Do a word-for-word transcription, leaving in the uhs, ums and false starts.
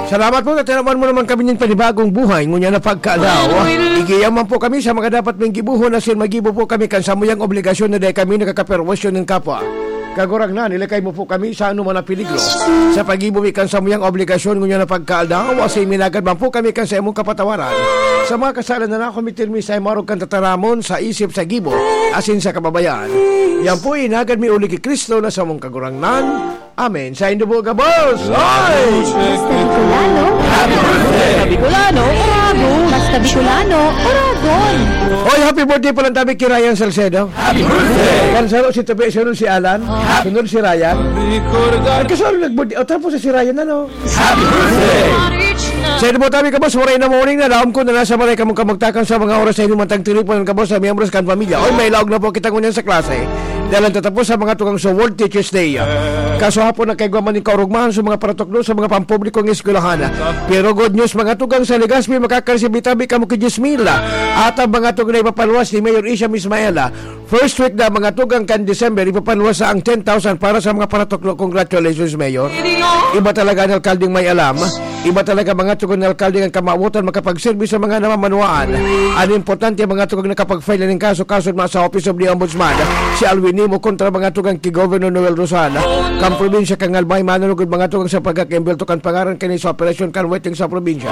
Salamat po, natiraman mo naman kami nin panibagong buhay, ngunyan na pagkaalaw. Igiyaman po kami sa mga dapat ming gibuhon, asin magibo po kami kan samuyang obligasyon na dai kami nakakaperwisyon nin kapwa. Kagurangnan, ilakay mo po kami sa anuman na peligro. Sa paggibo mi kan samuyang obligasyon, ngunyan na pagkaalaw, asin minagad man po kami kan sa imong kapatawaran. Sa mga kasalan na nakomitir mi sa imong arog kan tataramon, sa isip, sa gibo, asin sa kababayan. Yan po, inagad mi uli ki Cristo na samong Kagurangnan. Amen. Sa indo po, gabos! Ay! Basta Bicolano. Basta Bicolano, Oragon. Basta Bicolano, Oragon. Oy, happy birthday po lang tabi kay Ryan Salcedo. Happy birthday! Kan saro si Tabi, sunod si Alan. Sunod si Ryan. Nagkasaro nag-birthday. O, tapos si Ryan, ano? Happy birthday! Sa indo po tabi, gabos, maray na morning na. Laom ko na nasa maray kamong kamagtakan sa mga oras sa inyong mantang tinipunan, gabos, sa miyembros kan pamilya. Oy, may laog na po kitang ngunyan sa klase. Dahil ang tatapos sa mga tugang sa World Teachers Day. Kaso hapon, nagkaigwa man ning kaurugmahan sa mga paratukdo sa mga pampublikong eskwelahan. Pero good news, mga tugang sa Legazpi, makakaresibir tabi kamo ki diyes mil. At ang mga tugang na ipapaluwas ni Mayor Isham Ismaela, first week na, mga tugang, kan December, ipapaluwas sa ang ten thousand para sa mga paratukdo. Congratulations, Mayor. Iba talaga ang alkaldeng may alam. Iba talaga, mga tugang, na alkalde kan kamawotan makapagserbi sa mga namamanwaan. Ang importante, mga tugang, nakapag-file na ning kaso, kaso na sa Office of the Ombudsman, si Alwin Nimo kontra, mga tugang, ki Governor Noel Rosal. Kan probinsya kan Albay, manunugod, mga tugang, sa pagkakaimbelto kan pangaran kani sa operasyon kan weteng sa probinsya.